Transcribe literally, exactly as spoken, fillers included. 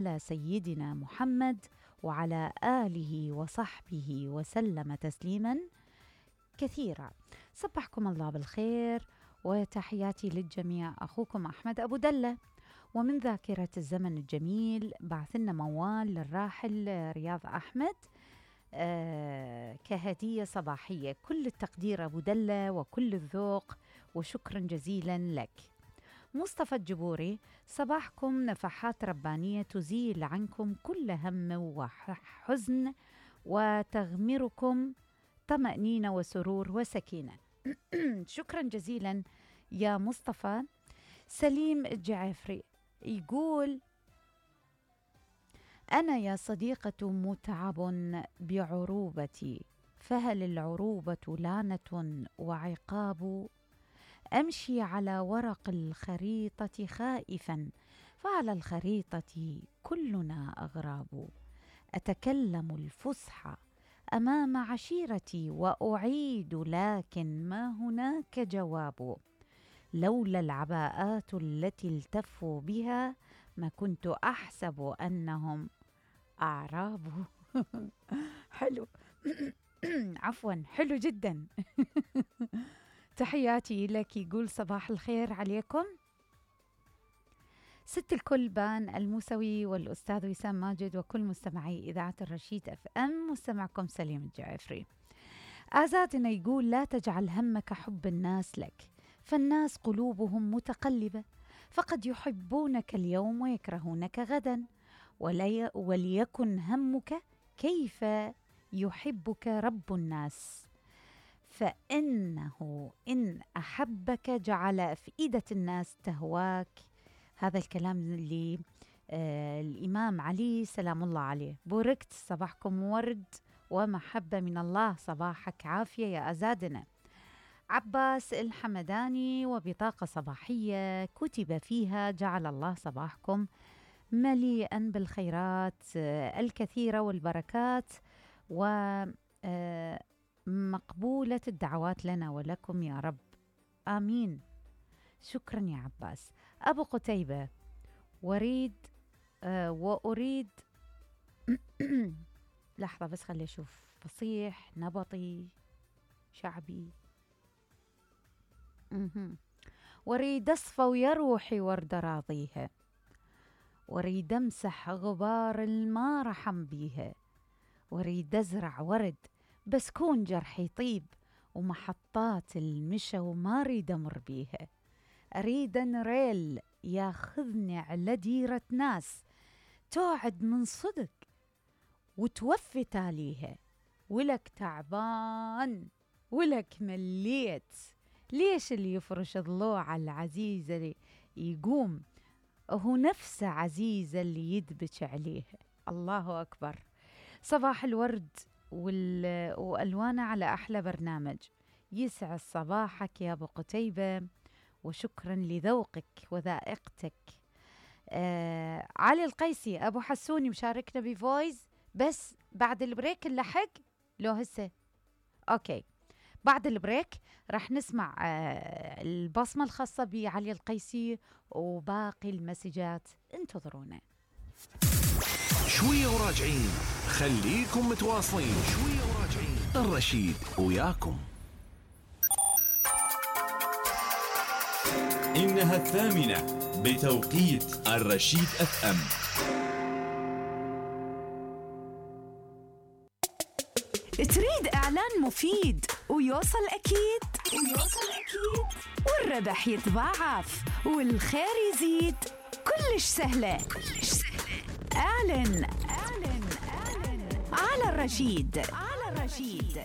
على سيدنا محمد وعلى آله وصحبه وسلم تسليما كثيرا. صبحكم الله بالخير وتحياتي للجميع. أخوكم أحمد أبو دلة، ومن ذاكرة الزمن الجميل بعث لنا موال للراحل رياض أحمد آه كهدية صباحية. كل التقدير أبو دلة وكل الذوق، وشكرا جزيلا لك. مصطفى الجبوري، صباحكم نفحات ربانية تزيل عنكم كل هم وحزن وتغمركم طمأنينة وسرور وسكينة. شكرا جزيلا يا مصطفى. سليم الجعفري يقول: أنا يا صديقة متعب بعروبتي، فهل العروبة لعنة وعقاب؟ أمشي على ورق الخريطة خائفا، فعلى الخريطة كلنا أغراب. أتكلم الفصحى أمام عشيرتي وأعيد، لكن ما هناك جواب. لولا العباءات التي التفوا بها ما كنت أحسب أنهم أعراب. حلو. عفوا، حلو جدا. تحياتي لك. يقول: صباح الخير عليكم ست الكل بان الموسوي والأستاذ وسام ماجد وكل مستمعي إذاعة الرشيد أف أم. مستمعكم سليم الجعفري. آزادنا يقول: لا تجعل همك حب الناس لك، فالناس قلوبهم متقلبة، فقد يحبونك اليوم ويكرهونك غدا، ولي وليكن همك كيف يحبك رب الناس، فإنه إن أحبك جعل أفئدة الناس تهواك. هذا الكلام اللي آه الإمام علي سلام الله عليه. بوركت، صباحكم ورد ومحبة من الله، صباحك عافية يا أزادنا. عباس الحمداني، وبطاقة صباحية كتب فيها: جعل الله صباحكم مليئا بالخيرات آه الكثيرة والبركات، و آه مقبولة الدعوات لنا ولكم يا رب، آمين. شكرا يا عباس. أبو قتيبة، وريد آه وأريد لحظة بس خلي أشوف، فصيح نبطي شعبي. مه. وريد أصفى ويا روحي ورد راضيها، وريد أمسح غبار الما رحم بيها، وريد أزرع ورد بس كون جرحي طيب، ومحطات المشى وما ريد أمر بيها. أريد ريل ياخذني على ديرة ناس توعد من صدق وتوفي تاليها، ولك تعبان ولك مليت، ليش اللي يفرش ضلوع العزيزة اللي يقوم هو نفسه عزيزة اللي يدبك عليها. الله أكبر. صباح الورد والألوان على أحلى برنامج. يسعد صباحك يا أبو قتيبة، وشكرا لذوقك وذائقتك. آه علي القيسي أبو حسوني مشاركنا بفويس، بس بعد البريك اللحق لو هسه أوكي. بعد البريك راح نسمع آه البصمة الخاصة بعلي القيسي وباقي المسجات، انتظرونا شوية وراجعين. خليكم متواصلين، شوية وراجعين. الرشيد وياكم. إنها الثامنة بتوقيت الرشيد أف أم. تريد إعلان مفيد ويوصل أكيد ويوصل أكيد والربح يتضاعف والخير يزيد؟ كلش سهلة كلش سهلة. اعلن اعلن اعلن على الرشيد على الرشيد.